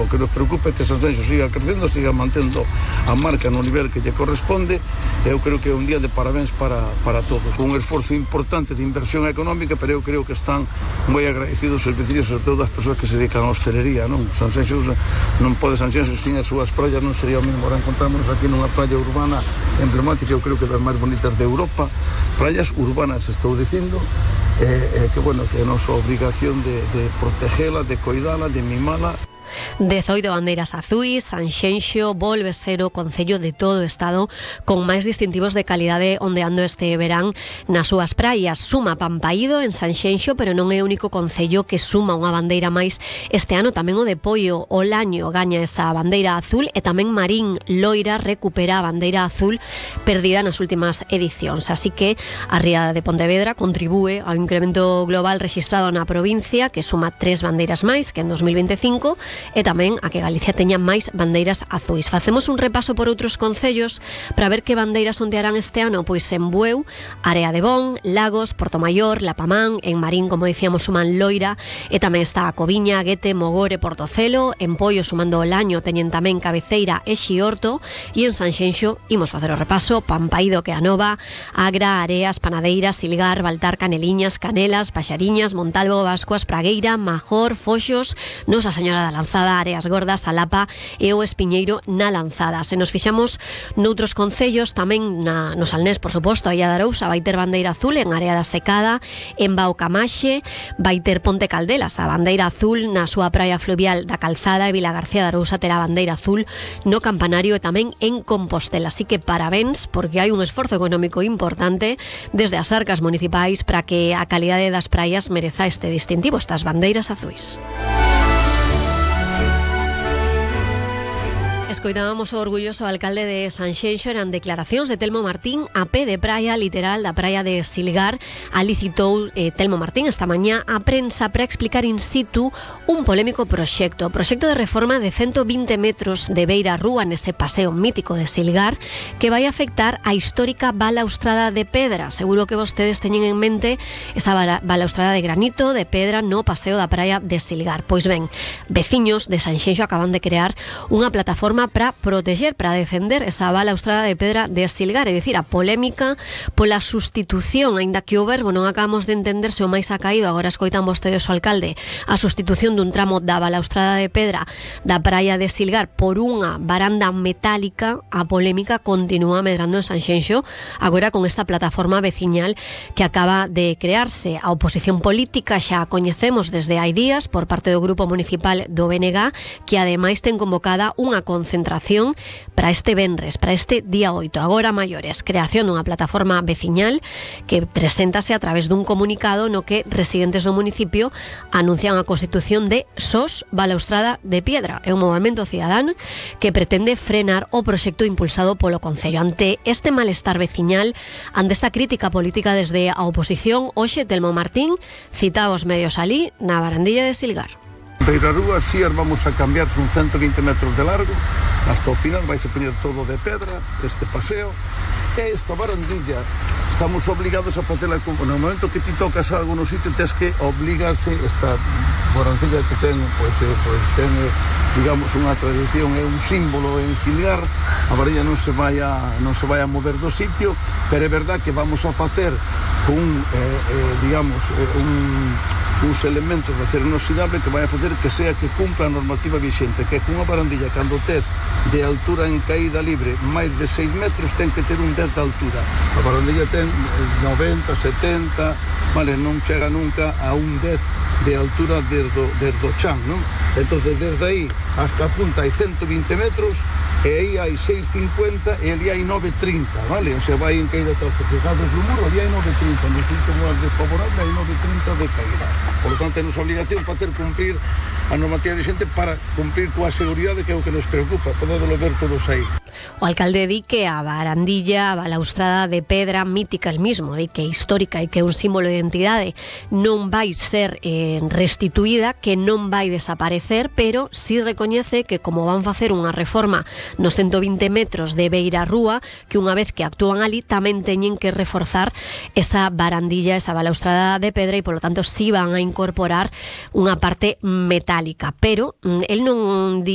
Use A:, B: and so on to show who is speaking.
A: que nos preocupa é que Sanxenxo siga crecendo, siga mantendo a marca no nivel que lle corresponde. Eu creo que é un día de parabéns para todos. Un esforzo importante de inversión económica, pero eu creo que están moi agradecidos os veciños, sobre todo as persoas que se dedican á hostelería, non? Sanxenxo non pode Sanxenxo sin as súas praias, non sería o mesmo. Ahora encontramos aquí nunha playa urbana emblemática, eu creo que das máis bonitas de Europa, praias urbanas, estou dicindo, que bueno, que é a nosa obrigación de protegela, de coidala, de mimala.
B: 18 bandeiras azuis, Sanxenxo volve ser o concello de todo o estado con máis distintivos de calidade ondeando este verán nas súas praias. Suma Pampaído en Sanxenxo, pero non é o único concello que suma unha bandeira máis este ano. Tamén o de Poio, Olaño gaña esa bandeira azul, e tamén Marín Loira recupera a bandeira azul perdida nas últimas edicións. Así que a Ría de Pontevedra contribúe ao incremento global rexistrado na provincia, que suma 3 bandeiras máis que en 2025, e tamén a que Galicia teña máis bandeiras azuis. Facemos un repaso por outros concellos para ver que bandeiras ondearán este ano. Pois en Bueu, Area de Bon, Lagos, Portomayor, Lapamán, en Marín, como dicíamos, suman Loira, e tamén está a Coviña, Guete, Mogore, Portocelo. En Poio, sumando Olaño, teñen tamén Cabeceira e Xiorto, e en Sanxenxo imos facer o repaso: Pampaído, que a Nova, Agra, Areas, Panadeira, Silgar, Baltar, Caneliñas, Canelas, Paxariñas, Montalvo, Vascuas, Pragueira, Major, Foxos, Nosa Señora da Lanzada, Areas Gordas, Alapa e o Espiñeiro na Lanzada. Se nos fixamos noutros concellos, tamén no Salnés, por suposto, a Illa de Arousa vai ter bandeira azul en Área da Secada. En Baucamaxe vai ter Ponte Caldelas a bandeira azul na súa praia fluvial da Calzada, e Vilagarcía de Arousa terá bandeira azul no Campanario e tamén en Compostela. Así que parabéns, porque hai un esforzo económico importante desde as arcas municipais para que a calidade das praias mereza este distintivo, estas bandeiras azuis. Escoitábamos o orgulloso alcalde de Sanxenxo. Eran declaracións de Telmo Martín a pé de praia, literal, da praia de Silgar. Ali citou Telmo Martín esta mañá a prensa para explicar in situ un polémico proxecto de reforma de 120 metros de beira rúa nese paseo mítico de Silgar, que vai afectar a histórica balaustrada de pedra. Seguro que vostedes teñen en mente esa balaustrada de granito, de pedra, no paseo da praia de Silgar. Pois ben, veciños de Sanxenxo acaban de crear unha plataforma para proteger, para defender esa balaustrada de pedra de Silgar, é dicir, a polémica pola sustitución, aínda que o verbo non acabamos de entender se o máis ha caído, agora escoitan vostedes o alcalde, a sustitución dun tramo da balaustrada de pedra da praia de Silgar por unha baranda metálica. A polémica continúa medrando en Sanxenxo, agora con esta plataforma veciñal que acaba de crearse. A oposición política xa a coñecemos desde hai días por parte do Grupo Municipal do BNG, que ademais ten convocada unha concentración para este venres, para este día 8. Agora maiores, creación dunha plataforma veciñal que preséntase a través dun comunicado no que residentes do municipio anuncian a constitución de SOS Balaustrada de Piedra. É un movemento cidadán que pretende frenar o proxecto impulsado polo Concello. Ante este malestar veciñal, ante esta crítica política desde a oposición, hoxe Telmo Martín cita os medios alí na barandilla de Silgar.
A: Beira rúa, si vamos a cambiar un 120 metros de largo, hasta o final vai se poñer todo de pedra, este paseo, e esta barandilla estamos obligados a facela. No momento que ti tocas algo no sitio, tens que obligarse. Esta barandilla que ten, ten, digamos, unha tradición, é un símbolo en Silgar. A varilla non se vai a mover do sitio, pero é verdad que vamos a facer uns elementos de acero inoxidable que vai a facer que sea que cumpla a normativa vixente, que cunha barandilla, cando tes de altura en caída libre máis de 6 metros, ten que ter un 10 de altura. A barandilla ten 90, 70, vale, non chega nunca a un 10 de altura desde o chan, non? Entonces desde aí hasta a punta hai 120 metros, e aí hai 6,50 e ali hai 9,30, vale? O sea, vai en caída todos fijados do muro, ali hai 9,30, no sitio máis desfavorable hai 9,30 de caída. Por lo tanto, é nosa obligación facer cumprir a normativa vigente para cumprir coa seguridade, que é o que nos preocupa. Podédolo ver todos aí.
B: O alcalde di que a barandilla, a balaustrada de pedra mítica, el mismo, di que é histórica e que é un símbolo de identidade, non vai ser restituída, que non vai desaparecer, pero si recoñece que como van facer unha reforma nos 120 metros de beira rúa, que unha vez que actúan ali tamén teñen que reforzar esa barandilla, esa balaustrada de pedra, e polo tanto si van a incorporar unha parte metálica, pero el non di